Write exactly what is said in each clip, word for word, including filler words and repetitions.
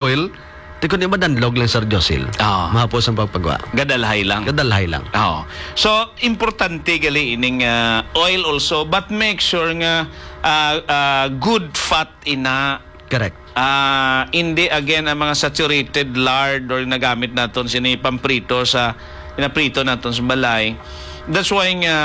oil, ti kun di madanlog lang, Sir Josil. Ah. Mahapos ang pagpagwa. Gadalhay lang. Gadalhay lang. Oo. So, importante gali ining, ah, oil also, but make sure nga, ah, ah, good fat ina. Correct. Ah, hindi again ang mga saturated lard or nagamit naton sini pamprito sa, pinaprito naton sa balay. That's why nga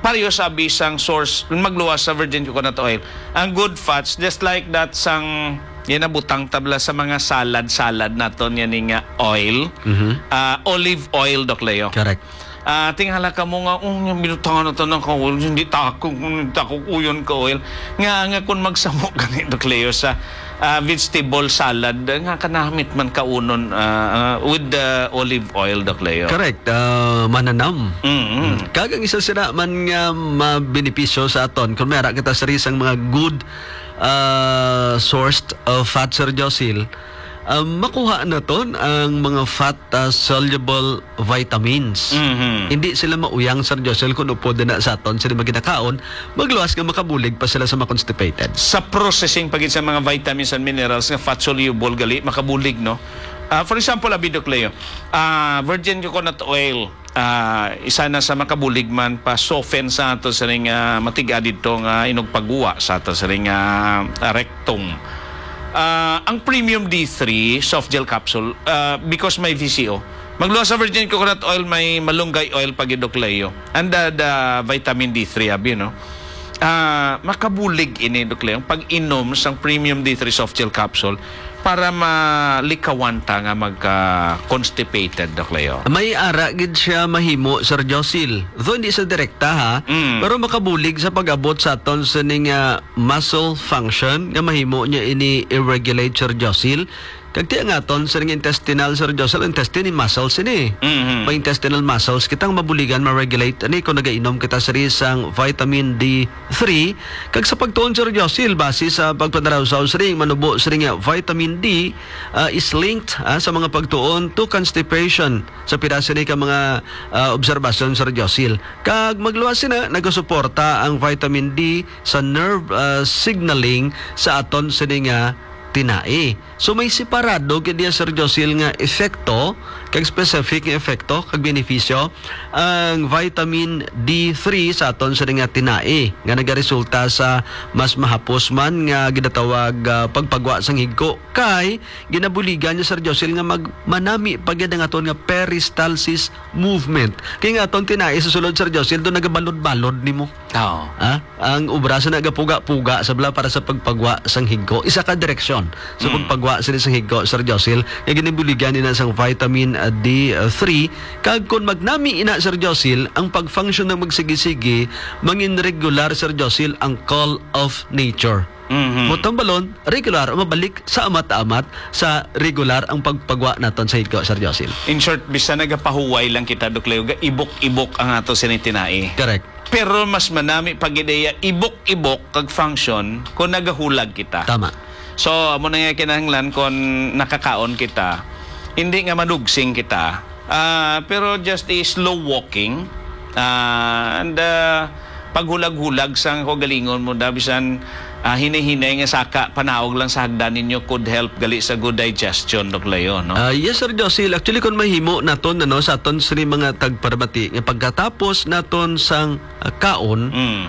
pareho sa bisang source magluwas sa virgin coconut oil. Ang good fats, just like that sang ginabutang tabla sa mga salad-salad naton yan nga oil. Mhm. Ah, olive oil, Doc Leo. Correct. Ah, tingala ka mo nga, "Oh, yung binutangan na to ng kawil, hindi tako, hindi tako kuyon ka oil." Nga, nga kung magsamo gani, Doc Leo, sa, ah, vegetable salad, nga kanamit man kaunon, ah, ah, with the olive oil, Doc Leo. Correct. Ah, mananam. Mm-mm. Mm. Kag ang isa sila man nga mabenepisyo sa aton, kung may ara kita sa risang mga good, ah, sourced, ah, fat, Sir Josil, ah, makuha naton ang mga fat, ah, soluble vitamins. Mhm. Hindi sila mauyang, Sir Josel, kung upod na sa aton sila maginakaon, magluwas nga makabulig pa sila sa ma-constipated. Sa processing pa gid sa mga vitamins and minerals nga fat soluble gali, makabulig, no? Ah, for example, abi, Doc Leo, ah, virgin coconut oil, ah, isa na sa makabulig man pa soften sa ato sining, ah, matiga didto nga inugpaguwa sa ato sining, ah, rectum. Ah, ang Premium D three soft gel capsule, ah, because may V C O, magluwas sa virgin coconut oil, may malunggay oil pa gid, Doc Leo. And the, the vitamin D three, abi, no? Ah, makabulig ini, Doc Leo, pag-inom sang Premium D three soft gel capsule para malikawan ta nga magka-constipated, Doc Leo. May ara gid siya mahimo, Sir Josil. Though hindi sa direkta, ha, Mm. pero makabulig sa pag-abot sa aton sining, ah, muscle function nga mahimo niya ini i-regulate, Sir Josil. Kag ti ang aton sining intestinal, Sir Josil, intestine, muscles ini. Mhm. May intestinal muscles kitang mabuligan ma-regulate ani kung nagainom kita sini sang vitamin D three. Kag sa pagtuon, Sir Josil, base sa pagpadarawsaw sining manubo sining nga vitamin D, ah, is linked, ah, sa mga pagtuon to constipation sa pira sini ka mga, ah, obserbasyon, Sir Josil. Kag magluwas sina, nagasuporta ang vitamin D sa nerve, ah, signaling sa aton sini nga tinai. So, may separado gid niya, Sir Josil, nga epekto, kag specific nga epekto, kag benepisyo, ang vitamin D three sa aton sini nga tinai, nga nagaresulta sa mas mahapos man nga ginatawag, ah, pagpagwa sang higko, kay ginabuligan niya, Sir Josil, nga mag-, manami pa gid ang aton nga peristalsis movement. Kay nga aton tinai sa sulod, Sir Josil, doon nagabalod-balod nimo. Oo. Ah, ang obra sa nagapuga-puga sa bala para sa pagpagwa sang higko, isa ka direksyon sa Mm. pagpagwa sini sang higko, Sir Josil, nga ginabuligan ina sang vitamin, ah, D three. Kag kung magnami ina, Sir Josil, ang pag-function ng magsigi-sigi, mangin regular, Sir Josil, ang call of nature. Mhm. Mo tambalon, regular, mabalik sa amat-amat sa regular ang pagpagwa naton sa higko, Sir Josil. In short, bisan nagapahuway lang kita, Doc Leo, ga-ibok-ibok ang ato sini tinai. Correct. Pero mas manami pa gid iya ibok-ibok kag function kung nagahulag kita. Tama. So, amo na nga kinahanglan kung nakakaon kita, hindi nga madugsing kita, ah, pero just a slow walking, ah, and, ah, paghulag-hulag sang kaugalingon mo, da, bisan, ah, hinay-hinay nga saka panaog lang sa hagdan ninyo could help gali sa good digestion, Doc Leo, no? Ah, yes, Sir Josil. Actually, kung mahimo naton, ano, sa aton sini mga tagparamati, nga pagkatapos naton sang, ah, kaon, Mm.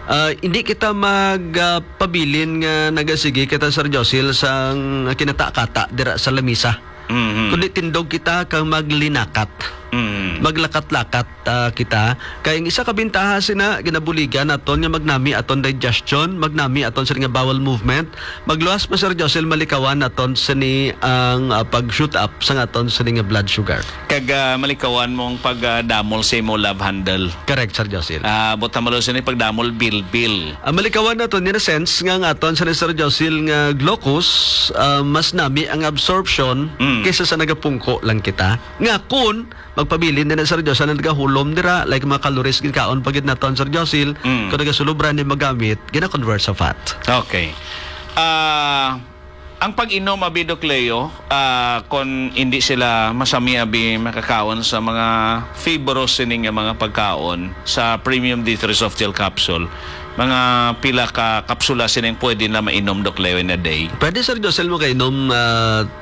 ah, hindi kita mag, ah, pabilin nga nagasigi kita, Sir Josil, sang kinata-kata dira sa lamisa. Mhm. Kundi tindog kita kag maglinakat. Mhm. Maglakat-lakat, ah, kita. Kay ang isa ka bintaha sina, ginabuligan naton nga magnami aton digestion, magnami aton sini nga bowel movement. Magluwas pa, Sir Josil, malikawan naton sini ang, ah, pag-shoot up sa aton sini nga blood sugar. Kag, ah, malikawan mong pag, ah, damol sa imo love handle. Correct, Sir Josil. Ah, buta malo sini pagdamol bilbil. Ang malikawan naton, in a sense, nga ang aton sa Sir Josil nga glucose, ah, mas nami ang absorption Mm. kaysa sa nagapungko lang kita. Nga kun magpabilin din na, Sir Josil, ang nagahulom dira, like mga calories, ginkaon pa gid naton, Sir Josil, Mm. kung nagasulubra ni magamit, gina-convert sa fat. Okay. Ah, ang pag-inom, abi, Doc Leo, ah, kung hindi sila masami, abi, makakaon sa mga fibrous sining nga mga pagkaon sa Premium D three Soft Gel Capsule, Mga pila ka kapsula sining pwede na mainom, Doc Leo, in a day? Pwede, Sir Josel, mo kainom, ah,